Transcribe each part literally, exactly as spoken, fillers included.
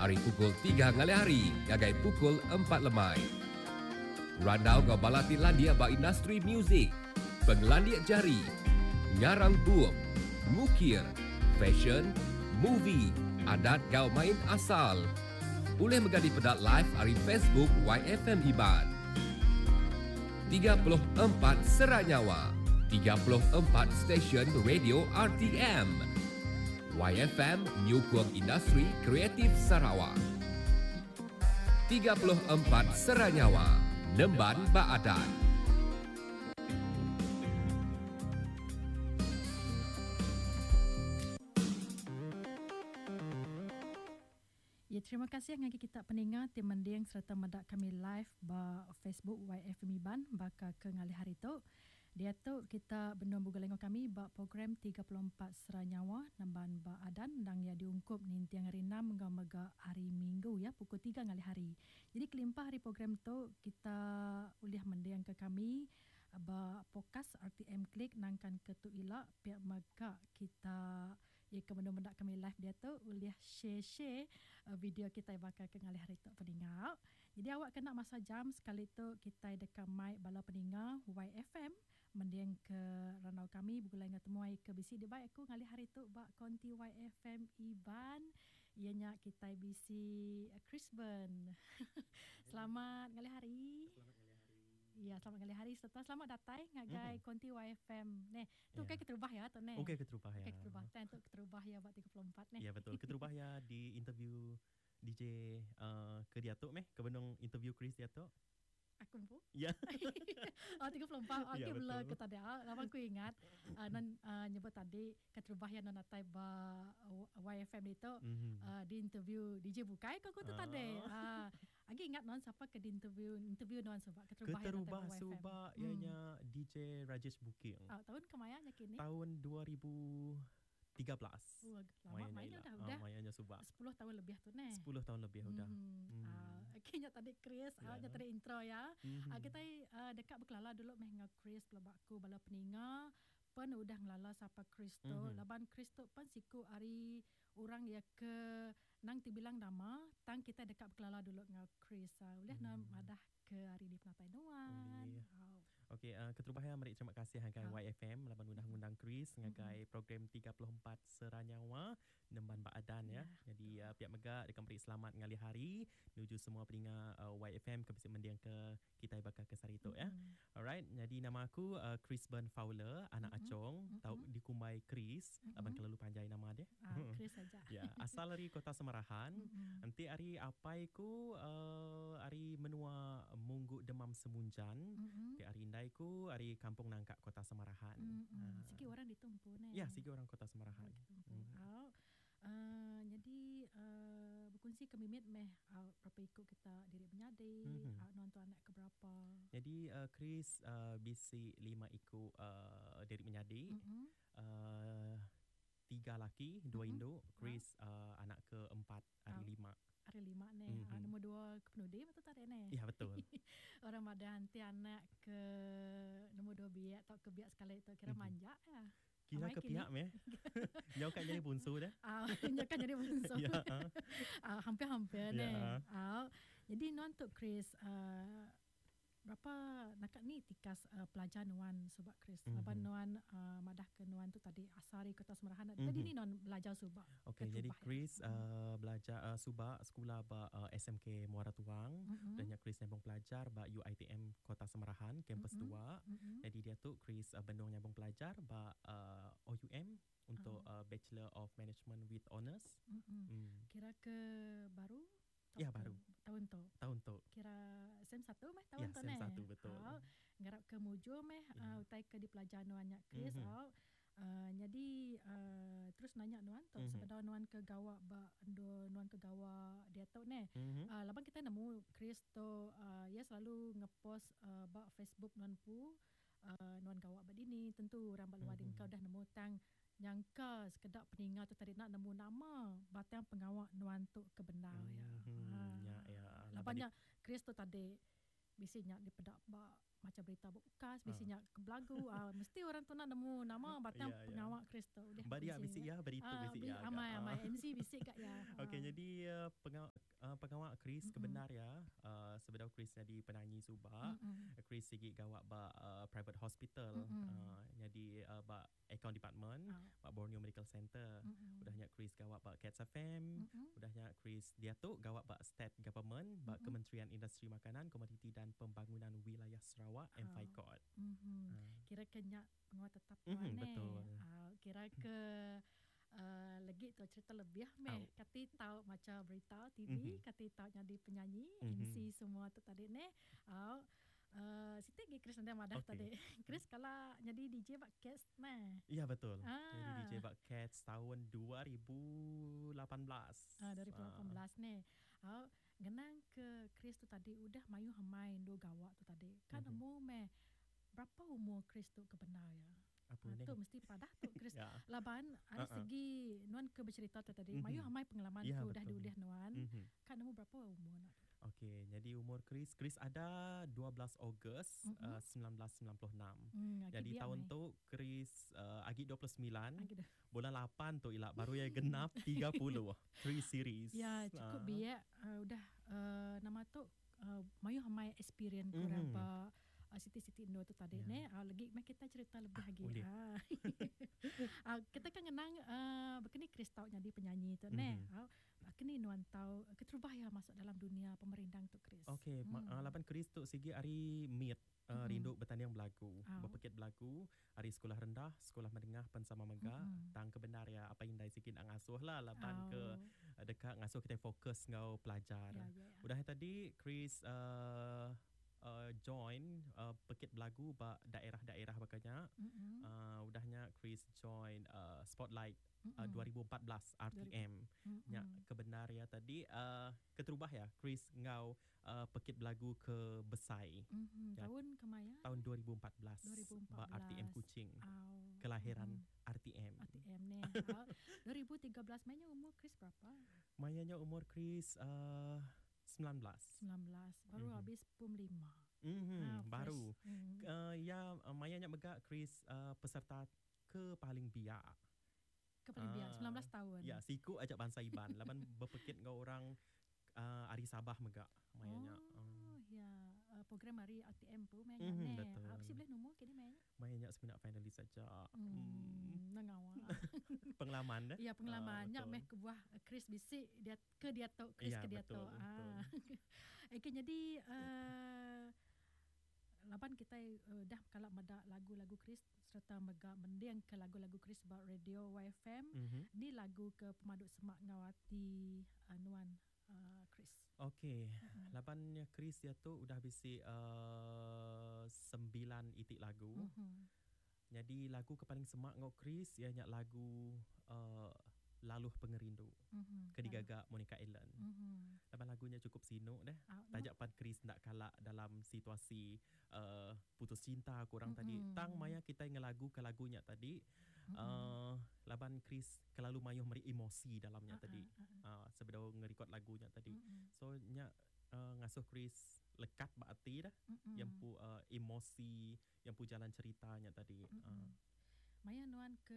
Ari pukul tiga ngalih hari ngagai pukul empat lemai. Randau enggau bala ti landik ba industri muzik, pengelandik jari, ngarang bup, ngukir, fashion, movie, adat enggau main asal. Ulih mega dipeda live ari Facebook Y F M Iban. tiga puluh empat Sera Nyawa, tiga puluh empat stesen radio R T M. Y F M nyukung industri kreatif Sarawak. tiga puluh empat Sera Nyawa, Nemban Baadan. Ya, terima kasih ngagi kita peninga ti mending serta medak kami live ba Facebook Y F M Iban baka ke ngalih hari tu. Dia tu kita benung buga lengok kami ba program tiga puluh empat Sera Nyawa Nemban ba Adan dang ya diungkup nintiang hari enam enggau mega hari Minggu ya pukul tiga ngalih hari. Jadi kelimpah hari program tu kita ulih mending ke kami ba podcast R T M Klik nangkan ke tu ila pihak mega kita ya ke menung mendak kami live dia tu ulih share-share uh, video kita bakal ke ngalih hari tu peninga. Jadi awak kena masa jam sekali tu kita dekat mic bala peninga Y F M mending ke randau kami begulai dengan temuai ke bisi di baik aku ngalih hari tu ba konti Y F M Iban ianya kita bisi Chris Ben. Selamat ngalih hari. Selamat ngalih hari. Ya, selamat ngalih hari serta selamat datang ngagai mm-hmm. konti Y F M. Neh, tu yeah. Kai keterubah ya tu neh. Okey keterubah ya. Okey keterubah. Tan tu keterubah ya ba tiga puluh empat neh. Ya betul. Keterubah ya di interview D J uh, ke dia tu meh, ke benung interview Chris dia tu. Aku pun. Ya. Oh tiga puluh empat. Okey ya, bela ke tadi. Ah, lama aku ingat uh, non uh, nyebut tadi keterubah ya non atai ba Y F M itu mm-hmm. uh, di interview D J bukai kau tu uh. tadi. Ah, agi ingat non siapa ke di interview interview non sebab keterubah ya Keterubah subak hmm. ianya D J Rajesh Booking. Ah, tahun kemaya nya kini? Tahun dua ribu tiga belas. Oh, lama mainnya udah udah. Ah, mainnya subak. sepuluh tahun lebih tu neh. sepuluh tahun lebih udah. Hmm. Hmm. Ah, okey nya tadi Chris, yeah. ah, nya tadi intro ya. Mm-hmm. Ah, kita uh, dekat berkelala dulu meh dengan Chris pelabak aku bala peninga pen udah ngelala siapa Chris tu. Mm-hmm. Laban Chris tu pen siku ari orang ya ke nang tibilang nama tang kita dekat berkelala dulu dengan Chris. Ah, boleh mm. nak madah ke hari di Penatai Nuan. Boleh. Oh. Okey, uh, keterubah ya meri terima kasih ngagai Ah. Y F M laban udah ngundang Chris ngagai Mm-mm. program tiga puluh empat Sera Nyawa Nemban Baadan ya. Ya, Jadi betul. uh, pihak mega dekat beri selamat ngalih hari nuju semua peninga uh, Y F M ke bisi mendiang ke kita bakal ke sari tu ya. Mm-mm. Alright, jadi nama aku uh, Chris Ben Fowler, anak Mm-mm. Acong, tau Mm-mm. dikumbai Chris, laban Mm-mm. kelalu panjai nama dia. Ah, Chris saja. Ya, asal dari Kota Semarahan. Mm-mm. Nanti hari apai ku uh, hari menua Munggu Demam Semunjan. Mm-mm. Nanti hari indai ku hari Kampung Nangka Kota Semarahan. Mm-mm. Ah. Sigi orang ditumpu ne. Ya, sigi orang Kota Semarahan. Orang ditumpu. Mm. Ah, uh, jadi uh, berkongsi ke mimit meh uh, berapa ikut kita diri menyadi, Mm-hmm. uh, non tu anak ke berapa. Jadi uh, Chris uh, bisi lima ikut uh, diri menyadi. Mm-mm. Uh, tiga laki, dua Mm-mm. induk. Ah. Chris uh, anak keempat, hari Ah. lima. Hari lima ne. Mm-hmm. Mhm. Uh, nombor dua ke penudi betul tak ne? Ya betul. Orang ada nanti anak ke nombor dua biak atau ke biak sekali itu kira Mhm. manja ya. Kira Amai ke kini. pihak meh. Jauh kan jadi bungsu dah. Ah, uh, kan jadi bungsu. Ya. ah. Ah, hampir-hampir ne. Ya. Ah, jadi non tu Chris uh, berapa nakak ni tikas uh, pelajar nuan subak Chris. Mm-hmm. Laban Mhm. nuan uh, madah ke nuan tu tadi asari Kota Semarahan. Mm-hmm. Tadi Mhm. ni nuan belajar subak. Okey, jadi Keterubah ya. Chris Mm. uh, belajar uh, subak sekolah ba uh, S M K Muara Tuang. Mm-hmm. Dan Chris nyambung pelajar ba U I T M Kota Semarahan kampus Mm-mm. dua. Mm-hmm. Jadi dia tu Chris uh, bendung nyambung pelajar ba uh, O U M untuk Ah. uh, Bachelor of Management with Honours. Mm-mm. Hmm. Kira ke baru? Ya, Tau ke baru. Tahun tu. Tahun tu. Kira sem satu meh tahun Ya, tu sem neh. satu betul. Au, ngarap ke muju meh Ya. uh, utai ke di pelajar nuan nya Chris. Mhm. Au. Uh, jadi uh, terus nanya nuan tu Mhm. sebedau nuan ke gawa ba endo nuan ke gawa dia tu neh. Mhm. Uh, laban kita nemu Chris tu uh, ia selalu ngepost uh, ba Facebook nuan pu uh, nuan gawa ba dini tentu orang ba luar Mhm. mm-hmm. kau dah nemu tang nyangka sekedak peninga tu tadi nak nemu nama batang pengawak nuan tu ke benar ya. Mhm. Ha. Ya, ya. Laban Laban nya Chris tu tadi Bisi nya dipedak ba macam berita bukas, bisi nya ke belagu, uh, mesti orang tu nak nemu nama batang Ya, ya. pengawa Chris tu. Udah Ba dia bisi ya, beri tu Ah, bisi bi- ya. agak. Amai Ah. amai M C bisi kak ya. Okey, Ah. jadi uh, pengawa uh, pengawa Chris Mm-mm. kebenar ya. Uh, sebedau Chris jadi penyanyi subak, Mm-mm. Chris sigi gawak ba uh, private hospital. Mm-mm. Uh, jadi uh, ba account department, Ah. ba Borneo Medical Center. Mm-mm. Udahnya Chris gawak ba Cats F M. Mm-mm. Udahnya Chris dia tu gawak ba State Government, ba Mm-mm. Kementerian Industri Makanan, Komoditi dan Pembangunan Wilayah Sarawak, Ah. M F I C O D. Mhm. Ah. Kira ke nyak pengawa tetap Mhm, tuan eh. betul. Ah, kira ke uh, lagi tu cerita lebih meh. Au. Kati tahu macam berita T V, Mhm. kati tahu jadi penyanyi, Mhm. M C semua tu tadi ne. Au. Uh, Siti lagi Chris nanti madah Okey. tadi. Chris kalau jadi D J bak Cats meh. Ya betul. Ah. Jadi D J bak Cats tahun dua ribu lapan belas. Ah, dua ribu lapan belas ni. Ah, ngenang ke Chris tu tadi udah mayu hamain do gawak tu tadi. Kan Mhm. umur meh berapa umur Chris tu kebenar ya? Apa Ah, ni? tu mesti padah tu Chris. Ya. Laban ada Uh-uh. segi nuan ke bercerita tu tadi. Mhm. Mayu hamai pengalaman Ya, tu udah betul. diulih nuan. Mhm. Kan umur berapa umur nak tu? Okey, jadi umur Chris, Chris ada dua belas Ogos, Mhm. uh, sembilan belas sembilan puluh enam. Hmm, agi Jadi biak tahun mai. tu Chris uh, agi dua puluh sembilan, Agi dah. bulan lapan tu ilak baru ya genap tiga puluh. Three series. Ya, cukup Ah. biak uh, udah uh, nama tu uh, mayu hamai experience kurang Mhm. ba uh, Siti-Siti Indo tu tadi Ya. ne. Uh, lagi meh kita cerita lebih Ah, lagi. boleh. Ah. Ah, kita kan ngenang uh, berkeni Chris tau jadi penyanyi tu ne. Mhm. Ah, berkeni nuan tau keterubah ya masuk dalam dunia pemerindang tu Chris. Okey, ma- Hmm. uh, laban Chris tu sigi hari meet uh, Mm-mm. rindu bertanding belagu, Ah. berpekit belagu, hari sekolah rendah, sekolah menengah pen sama mega, Mm-mm. tang kebenar ya apa indai sikit nak ngasuh lah laban ke Oh. dekat ngasuh kita fokus ngau pelajar. Ya, ya, ya. Udah tadi Chris uh, uh, join uh, pekit belagu ba daerah-daerah bakanya. Mm-mm. Uh, udahnya Chris join uh, Spotlight uh, Mm-mm. dua ribu empat belas R T M. Mm-mm. Nya kebenar ya tadi uh, keterubah ya Chris ngau uh, pekit belagu ke Besai Mm-hmm. Ya. Tahun kemaya? tahun dua ribu empat belas dua ribu empat ba R T M belas. Kuching. Au. Kelahiran Mm-mm. R T M. R T M ni. Au. dua ribu tiga belas mainnya umur Chris berapa? Mayanya umur Chris uh, sembilan belas. Sembilan belas. Baru Mhm. habis pum lima. Mhm, Ah, fresh. baru. Mm. Uh, ya, uh, mayanya megak Chris uh, peserta ke paling biak. Ke paling biak, Ah. sembilan belas tahun. Ya, siku ajak bangsa Iban. Laban berpekit ngau orang uh, ari Sabah megak mayanya. Oh, ya. Uh, program hari R T M pun mayanya Mhm, ne. betul. Ah, mesti boleh nombor kini mayanya. Mayanya sebenarnya finalis saja. Hmm, Hmm. nengawa. Pengalaman dah. Ya, pengalaman. Ah, Nyak betul. meh ke buah Chris bisik dia ke dia tok Chris Ya, ke dia betul, tok. betul. Ah. Okey, jadi uh, laban kita uh, dah kalak medak lagu-lagu Chris serta mega mending ke lagu-lagu Chris ba radio Y F M. Mhm. Ni lagu ke pemaduk semak ngawati uh, nuan uh, Chris. Okey, Mm-mm. laban Chris dia tu udah bisi uh, sembilan itik lagu. Mhm. Jadi lagu ke paling semak ngau Chris ianya lagu uh, Laluh Pengerindu. Mhm. Ke digagak Monica Ellen. Mhm. Laban lagunya cukup sinuk deh. Ah, Tajak pan Chris nak kalak dalam situasi uh, putus cinta kurang tadi. Mm-mm. Tang maya kita ngelagu ke lagunya tadi. Mm-mm. Uh, laban Chris kelalu mayuh meri emosi dalamnya Ah, tadi. ah, ah, ah. Uh, sebedau ngerekod lagunya tadi. Mm-mm. So nya uh, ngasuh Chris lekat ba ati dah. Mm-mm. Yang pu uh, emosi, yang pu jalan ceritanya tadi. Mm-mm. Uh, Maya nuan ke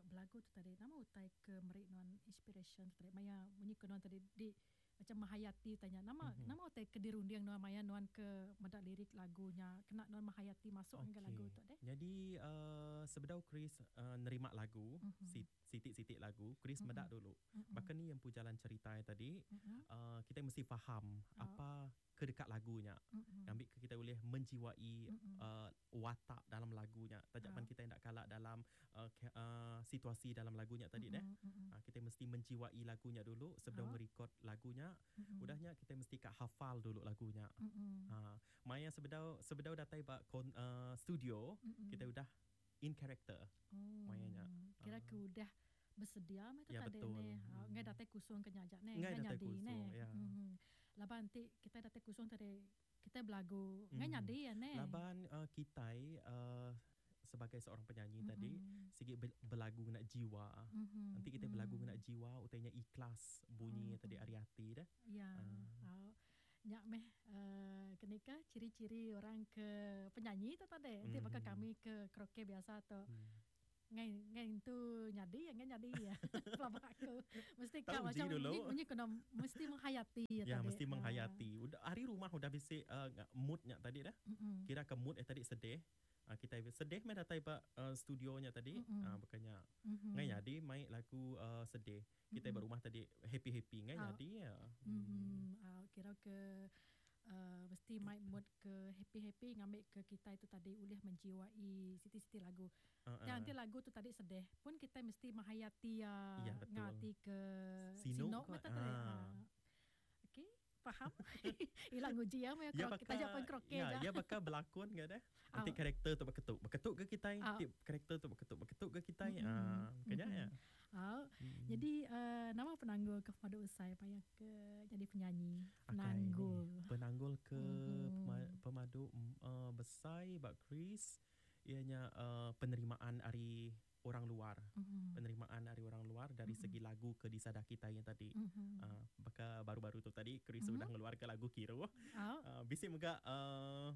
belagu tu tadi, nama utai ke merik nuan inspiration tu tadi. Maya bunyi ke nuan tadi di macam menghayati tanya nama Mhm. nama utai ke dirunding nuan Maya nuan ke medak lirik lagunya kena nuan menghayati masuk okay. ke lagu tu deh. Jadi uh, sebedau Chris uh, nerima lagu, Mhm. mm-hmm. sitik-sitik lagu, Chris Mhm. mm-hmm. medak dulu. Mm-mm. Bahkan ni yang pu jalan cerita tadi, Mm-mm. uh, kita mesti faham Oh. apa kedekat lagunya. Mm-mm. Ambil ke kita boleh menjiwai Mm-mm. uh, watak dalam lagunya. Tajapan Oh. kita tidak kalah dalam uh, ke, uh, situasi dalam lagunya tadi deh. Mm-mm. Mm-mm. Uh, kita mesti menjiwai lagunya dulu sebelum Oh. merekod lagunya. Mm-mm. Udahnya kita mesti kak hafal dulu lagunya. Mm-mm. Ha, Maya sebedau sebedau datai ba kon, uh, studio, Mm-mm. kita udah in character. Oh. Mayanya. Kira Ah. ke udah bersedia mah tu Ya, tadi betul. ni. Ha, Hmm. ngai datai kusung ke nyajak ni, Ngai ngai datai nyadi kusung, ni. ya. Mhm. Laban nanti kita datai kusung tadi kita belagu ngai Mhm. nyadi ya ne. Laban uh, kitai uh, sebagai seorang penyanyi Mm-mm. tadi sigi be- belagu nak jiwa. Mhm. Nanti kita belagu Mm. nak jiwa utainya ikhlas bunyi Mhm. tadi ari hati dah. Ya. Ah. Uh. Nyak meh uh, kita kenika ciri-ciri orang ke penyanyi tu tadi. Nanti mm-hmm. bakal kami ke karaoke biasa tu. Mm. Ngai ngai tu nyadi ya ngai nyadi ya. Pelabak aku. Mesti kau macam bunyi kena mesti menghayati ya, ya tadi. Mesti menghayati. Udah hari rumah udah bisi uh, moodnya tadi dah. Mm-hmm. Kira ke mood eh tadi sedih. Uh, kita sedih mai datai ba uh, studionya tadi. Mm-hmm. Uh, bukannya mm-hmm. ngai nyadi mai lagu uh, sedih. Kita mm-hmm. berumah tadi happy-happy ngai oh. nyadi ya. Mm. Uh, kira ke Uh, mesti mai mood ke happy-happy ngambil ke kita itu tadi ulih menjiwai siti-siti lagu. Uh, uh. Nanti lagu tu tadi sedih pun kita mesti menghayati ya, ya ngati ke sinok mata tadi. Ah. Okey, faham? Ilang uji ya, ya kita jawab kroke ya, ya bakal berlakon ke dah. Nanti oh. karakter tu berketuk, berketuk ke kita, nanti karakter tu berketuk, berketuk ke kita. Ah, kena ya. Oh. Hmm. Jadi uh, nama penanggul ke pada usai payah ke jadi penyanyi. Penanggul. Okay. Penanggul ke hmm. pemadu uh, besar bak Chris ianya uh, penerimaan dari orang luar. Hmm. Penerimaan dari orang luar dari hmm. segi lagu ke disada kita yang tadi. Hmm. Uh, baka baru-baru tu tadi Chris hmm. sudah ngeluarkan lagu Kiro. Oh. Uh, bisi mega uh,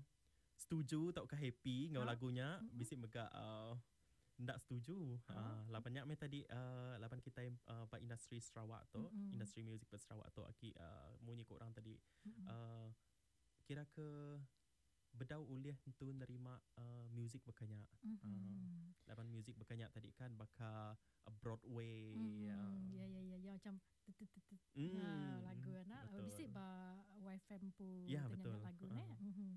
setuju atau ke happy ngau oh. lagunya, hmm. bisi mega uh, ndak setuju. Ha, uh, lapan nyak tadi uh, lapan kita uh, pak industri Sarawak tu, mm-hmm. industri music pak Sarawak tu aki uh, munyi ko orang tadi. Mm-hmm. Uh, kira ke bedau ulih tu nerima uh, music bekanya. Mm-hmm. Uh, lapan music bekanya tadi kan baka uh, Broadway. Mm-hmm. Uh. Ya ya ya ya macam mm, ya, lagu anak bisi ba Y F M pu ya, lagu uh. ne. Mhm.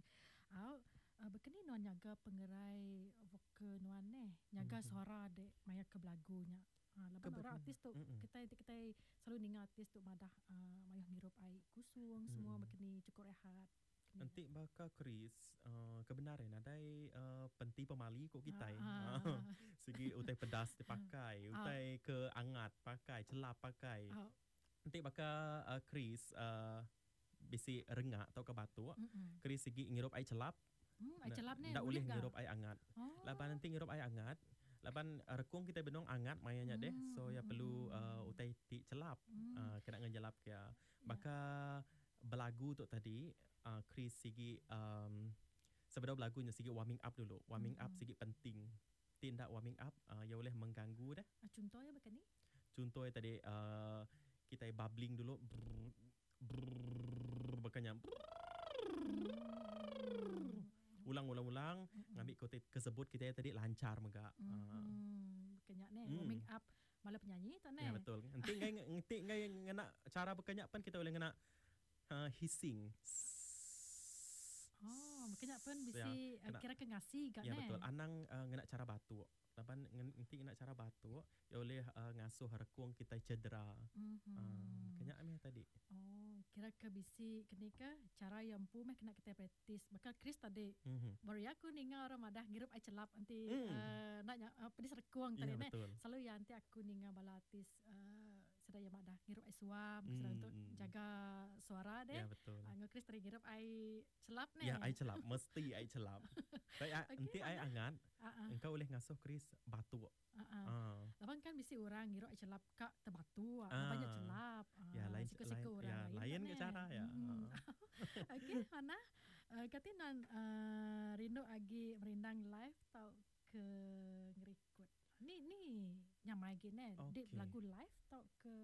Au Uh, berkeni nuan nyaga pengerai vokal nuan neh, nyaga mm-hmm. suara dek maya ke belagunya. Ha, laban orang artis tu mm-hmm. kita kita selalu ninga artis tu madah uh, mayuh ngirup air kusung mm. semua berkeni cukup rehat. Nanti baka Chris uh, kebenaran adai uh, penti pemali kok kita. Ah, ah. Segi utai pedas dipakai, utai ke angat pakai, celap pakai. Ah. Nanti baka uh, Chris uh, bisi rengak atau ke batuk, mm-hmm. Chris segi ngirup air celap. Hmm, air celap ni ndak boleh ngirup air angat. Oh. Laban nanti ngirup air angat, laban uh, rekung kita benong angat mayanya hmm. deh. So ya perlu uh, utai ti celap. Hmm. Uh, kena ngejelap ke. Ya. Maka belagu tu tadi uh, Chris sigi um, sebelum belagunya sigi warming up dulu. Warming hmm. up sigi penting. Tindak warming up uh, ya boleh mengganggu dah. Uh, contohnya bukan ni? Contohnya tadi uh, kita bubbling dulu. Brrr, brrr, bukannya ulang-ulang-ulang mm-hmm. ngambil kote kesebut kita tadi lancar mega. Hmm. Kenyak ne mm. warming up malah penyanyi tak ne. Ya betul. Nanti ngai nanti ngai ngena cara berkenyak pun kita boleh ngena uh, hissing. Oh, berkenyak pun bisi ya, kira ke ngasi kat ne. Ya betul. Anang uh, ngena cara batuk. Laban nanti ngena cara batuk ya boleh uh, ngasuh rekung kita cedera. Mm-hmm. Uh, kenyak meh tadi. Oh, kira ke bisi kenika cara yang pu meh kena kita praktis. Bakal Chris tadi. Mm-hmm. Baru aku ninga orang madah ngirup air celap nanti mm. uh, nak uh, pedis rekung tadi ya, ne. Selalu ya nanti aku ninga bala artis uh, sedaya madah ngirup air suam mm. sedang untuk jaga suara deh. Ya betul. Uh, Chris tadi ngirup air celap ne. Ya air celap mesti air celap. Tapi okay, nanti air angat. Uh-uh. Engkau boleh ngasuh Chris batuk. Uh-uh. Uh. Laban kan mesti orang ngirup air celap kak terbatu, uh. banyak celap. Uh, ya lain siku-siku orang ya, lain, lain ke cara ya. Hmm. Okey, mana? Uh, kati nan uh, rindu agi merindang live tau ke ngerekod. Ni ni nyamai gini. Okay. Dik lagu live tau ke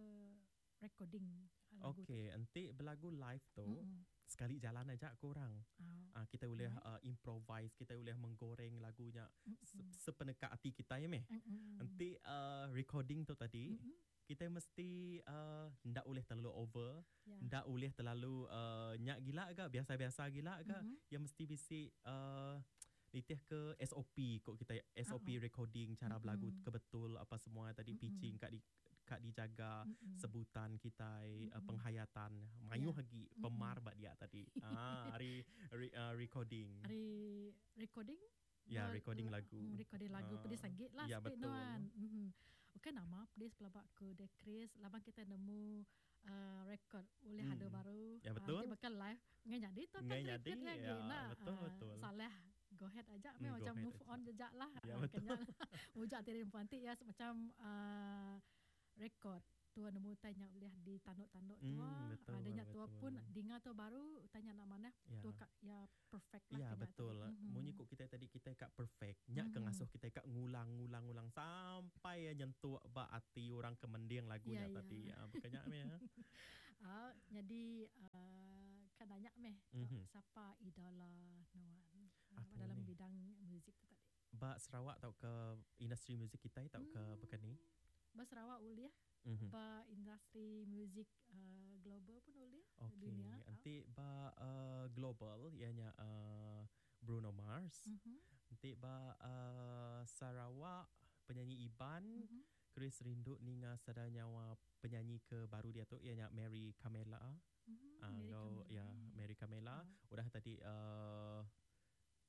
recording lagu. Okey, enti belagu live tu. Mm-hmm. Sekali jalan aja korang. Oh. Uh, kita boleh uh, improvise, kita boleh menggoreng lagunya mm-hmm. sepeneka hati kita ya meh. Mm-hmm. Nanti uh, recording tu tadi mm-hmm. kita mesti uh, ndak boleh terlalu over, yeah. ndak boleh terlalu uh, nyak gila ke, biasa-biasa gila ke, mm-hmm. yang mesti bisi uh, nitih ke S O P kok kita S O P uh-huh. recording cara belagu mm-hmm. kebetul apa semua tadi mm-hmm. pitching kat di kat dijaga mm-hmm. sebutan kita mm-hmm. uh, penghayatan mayuh yeah. lagi pemar mm-hmm. bak dia tadi ah hari re, uh, recording hari recording ya yeah, recording lagu recording lagu uh, pedis lagi lah ya, sikit nuan mm-hmm. Okey nama pedis pelabak ke de Chris laban kita nemu uh, record oleh mm. ada baru ya betul uh, bakal live ngai jadi tu kan record lagi ya, nah betul uh, betul salah go ahead aja mm, macam move aja. On jejak lah ya, betul mujak tirin puantik ya macam uh, record Tua nemu tanya boleh ditanduk-tanduk tua. Hmm, betul, Adanya tua betul. Pun dengar tua baru tanya nak mana Ya. tua kak ya perfect lah Ya kena betul. tu. Mm-hmm. Munyi kok kita tadi kita kak perfect. Nyak mm-hmm. ke ngasuh kita kak ngulang-ngulang-ngulang sampai ya nyentuh ba ati orang kemending lagunya Ya, ya. tadi. Ya, bukannya meh. Ya. Ah, jadi uh, kan nanya meh Mhm. mm-hmm. siapa idola nuan uh, Apa dalam ni? bidang muzik tu tadi. Ba Sarawak tau ke industri muzik kita tau ke Hmm. bukan ni? Ba Sarawak uliah, Mm-hmm. ba industri muzik uh, global pun uliah Okey, dunia. nanti ba uh, global ianya uh, Bruno Mars. Mm-hmm. Nanti ba uh, Sarawak penyanyi Iban, Mm-hmm. Chris Rindu ninga sada nyawa penyanyi ke baru dia tu ianya Mary Camela. Mm-hmm. Ah, uh, ya Mary Camela. Ah. Udah tadi uh,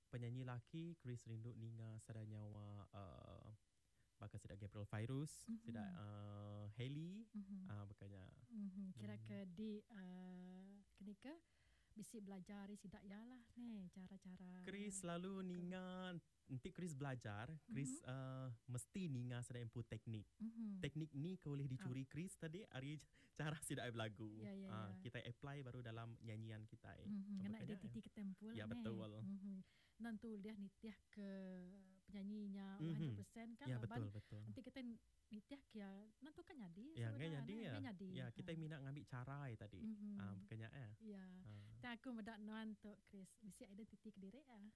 penyanyi laki Chris Rindu ninga sada nyawa uh, bakal sidak Gabriel Fairuz, Mhm. sidak uh, Hailey, Mm-hmm. ah uh, bukannya. Mm-hmm. Kira Hmm. ke di uh, kenika bisi belajar ari sidak ya lah ni cara-cara. Chris selalu ninga nanti Chris belajar, Chris mm-hmm. uh, mesti ninga sada input teknik. Mm-hmm. Teknik ni kau boleh dicuri Chris tadi ari cara sidak ai berlagu. Ya, ya, Ah, ya. kita apply baru dalam nyanyian kita. Mm-hmm. Kena Makanya, identiti ketempul Ya, lah, ni. betul. Mm-hmm. Nanti dia nitiah ke penyanyinya Mhm. seratus peratus kan Ya laban betul betul. nanti kita nitiah kia nanti kan nyadi Ya, ngai sebenarnya, nyadi ya. ngai nyadi. Ya, kita Ha. minat ngambil cara ya tadi. Mhm. Ah, bukannya ya. Ya. Ah. Tak aku medak nuan tu Chris mesti identiti kediri ah.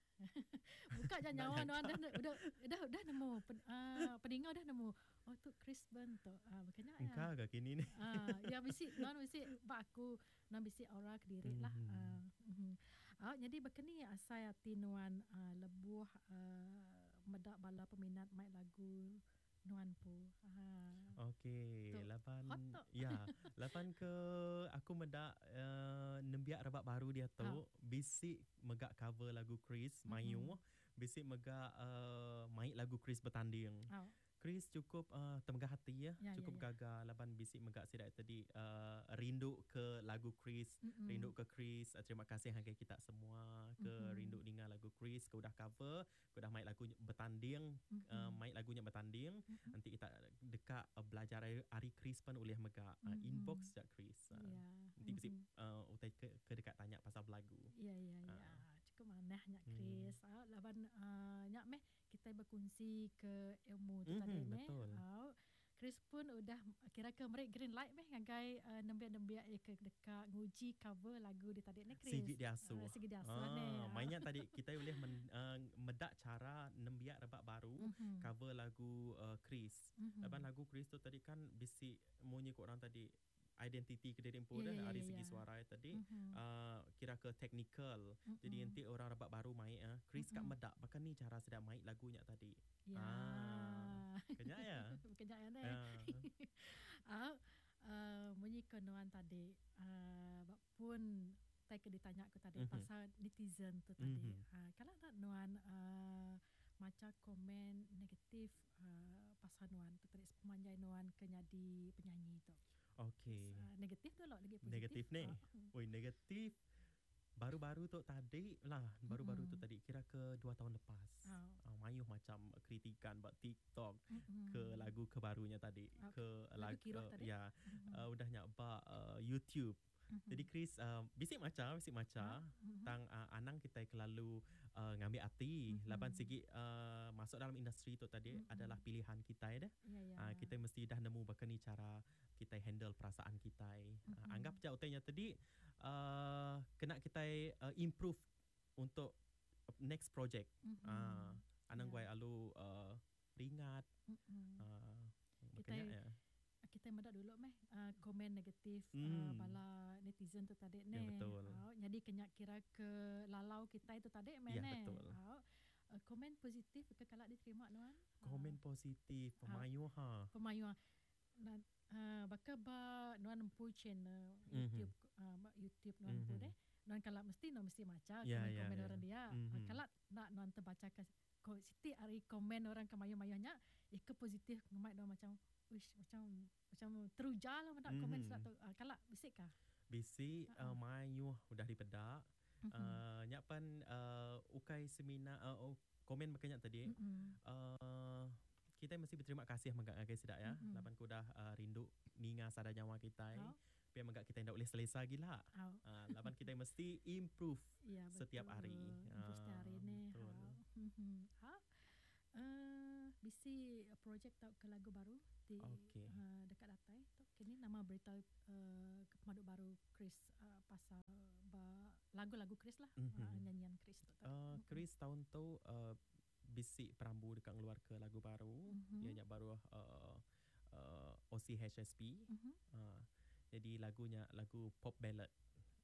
Buka je nyawa nuan dah udah udah udah nemu pen, uh, peninga dah nemu. Oh tu Chris Ben tu. Ah bukannya ya. Engkau agak kini ni. Ah ya bisi nuan bisi bak aku nuan bisi aura kediri lah. Mhm. Ah mhm. Ah jadi bekeni asai ati nuan uh, lebuh uh, medak bala peminat mai lagu nuan pu. Ah. Okey, Tu, lapan hot tu. ya, lapan ke aku medak uh, nembiak rebak baru dia tu Ah. bisik megak cover lagu Chris mayu, bisik megak uh, main lagu Chris bertanding. Ah. Chris cukup uh, temegah hati ya, Ya, ya, cukup ya. gagal lapan bisik megak sidak tadi uh, rindu ke lagu Chris, Mm-mm. rindu ke Chris. Uh, terima kasih hargai kita semua ke Mm-mm. rindu dengar lagu Chris, ke udah cover, ke udah main lagu bertanding, Mm-mm. uh, main lagunya bertanding. Mm-mm. Nanti kita dekat uh, belajar hari, hari Chris pun boleh megak uh, Mhm. inbox jak Chris. Uh, Ya. Nanti mesti Mhm. uh, utai ke, ke dekat tanya pasal lagu. Ya ya ya. Ah. Cukup manah nyak Hmm. Chris. Ah laban uh, nyak meh kita berkongsi ke ilmu tu Mhm, tadi meh. betul. Ah, Chris pun udah kira ke merek green light meh ngagai uh, nembiak-nembiak yang ke dekat nguji cover lagu dia tadi ni Chris. Sigi diasuh. Ah, sigi diasuh ni. Ah, mainnya tadi kita boleh men, uh, medak cara nembiak rebak baru Mhm. cover lagu uh, Chris. Mhm. Laban lagu Chris tu tadi kan bisik munyi kat orang tadi identiti ke diri pun Ya, dah ya, dari ya, segi ya. suara tadi Mhm. uh, kira ke technical. Mhm. Jadi nanti orang rebak baru main ah Chris kat Mm-mm. medak bahkan ni cara sedang main lagunya tadi. Ya. Ah. Kenyak ya. Kenyak ya ni. Ah. Ah, uh, munyi kenuan tadi uh, bak pun tai ke ditanya aku tadi Mhm. pasal netizen tu tadi. Mhm. Uh, kalau nak nuan uh, maca komen negatif uh, pasal nuan tu tadi sepanjang nuan ke jadi penyanyi tu. Okey. Uh, negatif tu lah lagi positif. Negatif ni. Ah, Oi negatif baru-baru tu tadi lah baru-baru tu Mm-mm. tadi kira ke dua tahun lepas. Ah. Uh, mayuh macam kritikan buat TikTok Mm-mm. ke lagu kebarunya tadi Ah, ke lagu lagu Kiroh tadi? ya Mhm. uh, udah nyak ba uh, YouTube. Mhm. Jadi Chris uh, bisik maca bisik maca Mhm. tang uh, anang kita kelalu uh, ngambil hati Mhm. laban segi uh, masuk dalam industri tu tadi Mhm. adalah pilihan kita dah. Ya ya. Uh, kita mesti dah nemu bahkan ni cara kita handle perasaan kita. Uh, Mhm. anggap je utainya tadi uh, kena kita uh, improve untuk next project. Mhm. Ah, anang Ya. guai alu uh, ringat Mhm. uh, Kita- makanya ya. Kita medak dulu meh uh, komen negatif uh, Hmm. bala netizen tu tadi Ya, ni. betul. Uh, jadi kenyak kira ke lalau kita itu tadi meh Ya, ne. betul. Uh, uh, komen positif ke kalak diterima nuan? Komen positif Ah. pemayu ha. Pemayu na uh, baka ba nuan empu channel Mhm. YouTube uh, ba YouTube nuan empu Mhm. deh. Nuan kalak mesti nuan mesti maca Ya, ya, komen-komen ya. orang dia. Mhm. Uh, kalak nak nuan terbaca ke ko siti ari komen orang ke mayu-mayuhnya eh ke positif ngemai nuan macam uish macam macam teruja lah nak komen Mhm. sebab tu. Uh, kalak bisik kah? Bisi Ha-ha. uh, mayuh udah dipedak. Mhm. Uh, nyak pan uh, ukai semina uh, oh, komen makanya tadi Mm-mm. uh, Kita mesti berterima kasih megak ngagai sidak ya. Mm-mm. Laban ku udah uh, rindu ninga sada nyawa kita. Oh. Biar megak kita ndak boleh selesa gila. Oh. Uh, laban kita mesti improve Ya, setiap betul. hari. Improve setiap hari Ah, ni. betul. Ha. Mhm. Ha. Uh, bisi projek tau ke lagu baru di Okey. uh, dekat datai tu kini nama berita uh, ke pemaduk baru Chris uh, pasal ba, lagu-lagu Chris lah Mhm. uh, nyanyian Chris tu tadi. Uh, Chris tahun tu uh, bisik perambu dekat ngeluar ke lagu baru. Mhm. Dia nyak baru uh, uh, O C H S P. Mhm. Uh, jadi lagunya lagu pop ballad.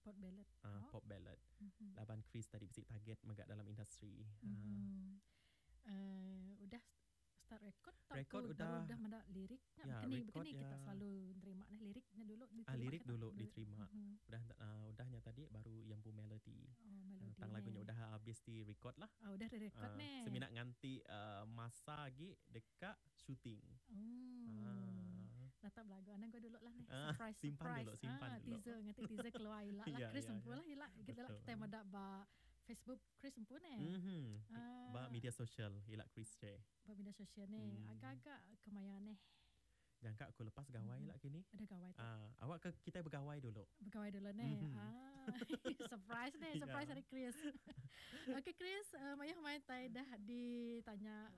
Pop ballad. Uh, Oh. Pop ballad. Mhm. Laban Chris tadi bisik target megak dalam industri. Uh, Mhm. Uh, udah start record tau Record ke udah. baru udah mendak liriknya Ya, begini record begini kita ya. selalu nerima nah liriknya dulu diterima Ah, lirik ke tak? dulu diterima. Mhm. Udah uh, udahnya tadi baru yang bu melody. Oh, Uh, melodi tang lagunya ni. udah habis di record lah. Oh, udah di record Uh, nih. Seminak nganti uh, masa lagi dekat shooting. Hmm. Ah. Natap lagu anak gua dulu lah nih. Ah, Surprise, simpan surprise. dulu, simpan ah, dulu. Teaser, nanti teaser keluar ilak lah. Ya, Chris ya, empu ya. lah ilak. Kita lah Betul. kita mendak ba Facebook Chris empu nih. Mhm. Ah. Ba media sosial ilak Chris Che. Ba media sosial nih. Hmm. Agak-agak kemaya nih. Jangka aku lepas gawai Mhm. lah kini. Ada gawai tu. Ah, awak ke kita bergawai dulu. Bergawai dulu nih. Mhm. Ah, surprise nih, surprise Ya. dari Chris. Okey Chris, uh, mayah main tai dah ditanya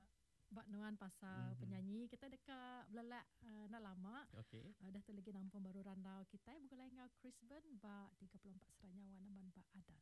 Bak Nuan pasal Mhm. penyanyi kita dekat belelak uh, nak lama. Okey. Uh, dah tu lagi nampung baru randau kita bukan lain ngau Chris Ben ba tiga puluh empat seranyawa naman ba Adan.